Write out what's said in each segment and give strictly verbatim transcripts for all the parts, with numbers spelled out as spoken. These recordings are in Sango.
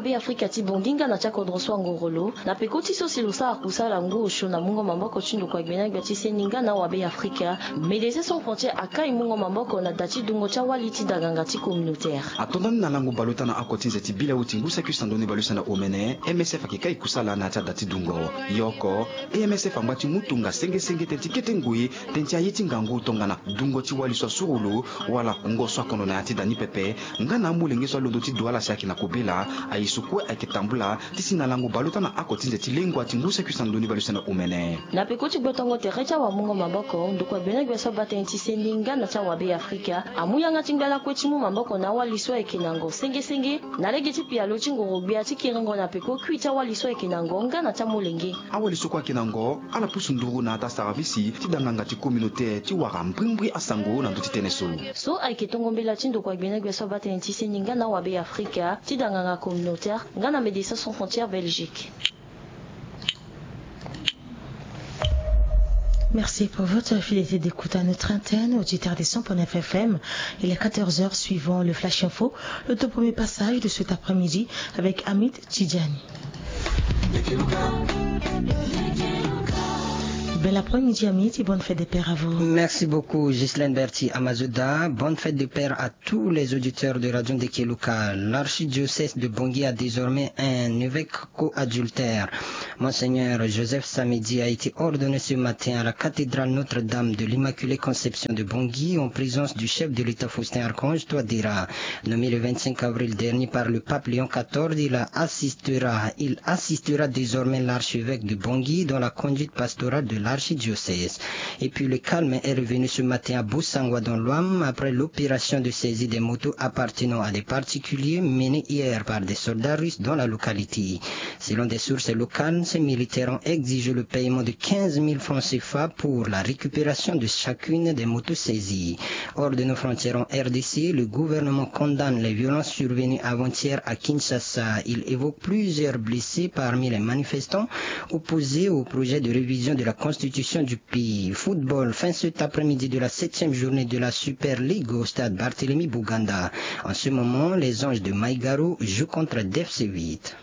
Be Afrika ti Bongi nga na ti akodro so angoro lo na peko ti so si lo sara kusala ngu osio na mungo maboko ti ndokua gbena gbia ti seni nga na awabe Afrika. Médecins Sans Frontières akai mungo maboko na da ti dungo ti awali ti daganga ti communautaire. Atonda ni na lango baleota na oko ti nze ti bileu ti ngu saki sandoni baleuse na omene, M S F ayeke kai kusala na ya ti ada ti dungo. Yoko, M S F angba ti mu tonga senge senge tënë ti kete ngoi tënë ti aye ti ngangu tongana dungo ti wali so asuru lo, wala ngo so akondo na ya ti da ni pepe, nga na amolenge so alondo ti du ala si ayeke na kobela. Aye so kue ayeke tambula ti si na lango baleota na oko ti nze ti lengua ti ngu saki sandoni baleuse na omene. Na peko ti gbotongo tere ti awamungo maboko, ndokua gbena gbia so abaa tënë ti seni nga na ti awabe Afrika amu yanga ti ngba lakue ti mu maboko na awali so ayeke na ngo senge senge na lege ti pialo ti ngoro gbia ti kiringo na peko kui ti awali so ayeke na ngo nga na ti amolenge. Awali so kue ayeke na ngo ala pusu nduru na ata saravisi ti danganga ti communautaire ti wara mbrimbri asango na ndö ti tënë so. So ayeke tongo mbela ti ndokua gbena gbia so abaa tënë ti seni nga na awabe Afrika ti danganga communautaire nga na Médecins Sans Frontières Belgique. Merci pour votre fidélité d'écoute à notre antenne, auditeur des cent point neuf F M. Il est quatorze heures, suivant le Flash Info, le tout premier passage de cet après-midi avec Hamid Tidjani. Bel après-midi, Hamid, et bonne fête des pères à vous. Merci beaucoup, Ghislaine Berti Amazoda. Bonne fête des pères à tous les auditeurs de Radio Ndekeluka. L'archidiocèse de Bongi a désormais un évêque coadjuteur. Monseigneur Joseph Samedi a été ordonné ce matin à la cathédrale Notre-Dame de l'Immaculée Conception de Bongi en présence du chef de l'État Faustin Archange Touadéra. Nommé le vingt-cinq avril dernier par le pape Léon quatorze, il assistera, il assistera désormais l'archevêque de Bongi dans la conduite pastorale de l'archidiocèse. Et puis le calme est revenu ce matin à Bossangoa dans l'Ouham après l'opération de saisie des motos appartenant à des particuliers menée hier par des soldats russes dans la localité. Selon des sources locales, ces militaires ont exigé le paiement de quinze mille francs C F A pour la récupération de chacune des motos saisies. Hors de nos frontières en R D C, le gouvernement condamne les violences survenues avant-hier à Kinshasa. Il évoque plusieurs blessés parmi les manifestants opposés au projet de révision de la constitution du pays. Football, fin cet après-midi de la septième journée de la Super League au stade Barthélemy Bouganda. En ce moment, les Anges de Maïgaro jouent contre D F C huit.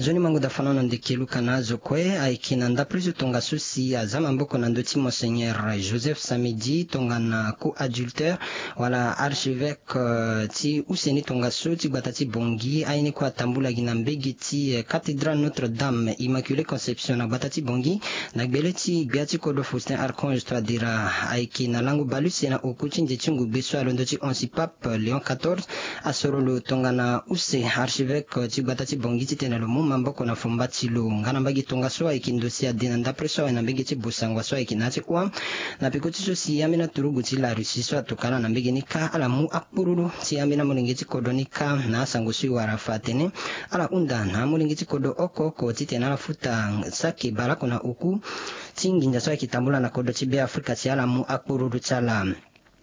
Nzoni mango da fana na ndeke luka na azo kue ayeke na ndapre so tongaso si aza maboko na ndö ti Monseigneur Joseph Samedi tongana coadjuteur wala archevêque, euh, ti use ni tongaso ti gbata ti Bongi. Aye ni kue atambula gi na mbege ti, euh, cathédrale Notre-Dame Immaculée Conception na gbata ti Bongi. Na gbele ti gbia ti kodro Faustin Archange Touadéra ayeke na lango baleuse na oku ti nze ti ngugbe so alondo ti hon si pape Léon quatorze asoro lo tongana use archevêque ti gbata ti Bongi titene lo mu maboko na fomba ti lo. Nga na mbage tongaso ayeke ndo si ade na ndapre so awe na mbege ti Bossangoa so ayeke na ya ti Ouham. Na peko ti so si ambeni aturugu ti la Russie so atokana na mbege ni kâ ala mu akpururu ti ambeni amolenge ti kodro ni kâ na asango so e wara fa atene ala hunda na amolenge ti kodro oko oko titene ala futa saki baleoko na oku ti nginza so ayeke tambula na kodro ti Beafrika si ala mu akpururu ti ala.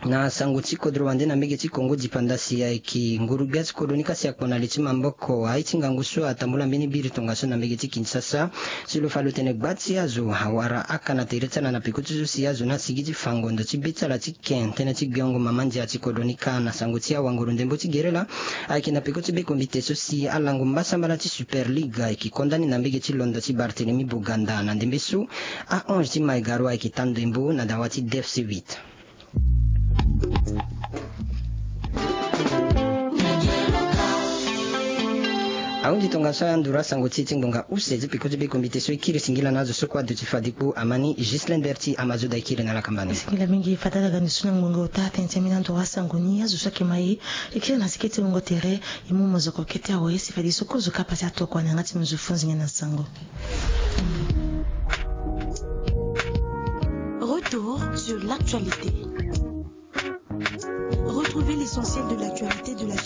Na sango ti kodro wande na mbege ti Congo dipanda si ayeke nguru-gbia ti kodro ni kâ si akpo na li ti maboko aye ti ngangu so atambula mbeni biri tongaso na mbege ti Kinshasa. Si lo fa lo tene gba ti azo awara aka na tere ti ala na peko ti so si azo ni asigi ti fa ngondo ti be ti ala ti ken tënë ti gbiongo mama ndia ti kodro ni kâ. Na sango ti awanguru ndembo ti gerela ayeke na peko ti be kombite so si alango mbasambala ti Super League ayeke konda ni na mbege ti londo ti Barthélemy Boganda. Na ndembe so a onze ti Maïgaro ayeke ta ndembo na dawa ti D F C huit. Ahunzi tongaso aya nduru asango ti e ti ngonga use ti peko ti be kombite so e kiri singila na azo so kue aduti fade kpo. Amani Ghislaine Berti Amazoda e kiri na lakamba ni. Singila mingi fade ala ga ndusu na ngonga ota tënë ti ambeni anduru asango ni. Azo so ayeke ma e e kiri na siki ti wungo tere. E mu mozoko kete awe si fadeso kozo kapa ti atokua na yanga ti mo zo fo nzenge na sango. Retour sur l'actualité. Retrouvez l'essentiel de l'actualité de la